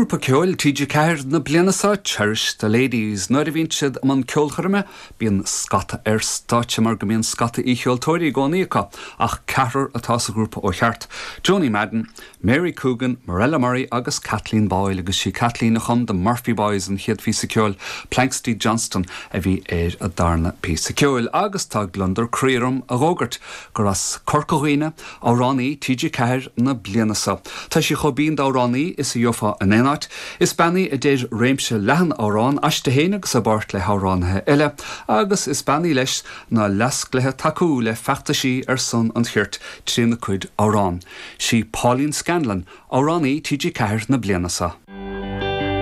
Grúpa ceoil TG4 na bliana seo, Cherish the Ladies. Nuair a bhíonn siad i mbun ceolchoirme, bíonn scata ar stáitse mar go mbíonn scata aoicheoltóirí i gcónaí acu, ach ceathrar atá sa ghrúpa ó cheart, Joni Madden, Mary Coogan, Mirella Murray agus Kathleen Boyle agus sí Kathleen a chum The Murphy Boys, an chéad phíosa ceoil, Planxty Johnston a bhí ar an darna píosa ceoil agus tá gliondar croí orm a dh'fhógairt gur as Corca Dhuibhne amhránaí TG4 na bliana seo. Tá sí chomh binn d'amhránaí is a gheofá in aon áit. Is bean í a deir réimse leathan amhrán aisti féin agus i bpáirt le hamhránaithe eile agus is bean í leis ná leasc léi tacú le feachtaisí ar son an chirt trína cuid amhrán. Sí Pauline Scanlon amhránaí TG4 na bliana seo.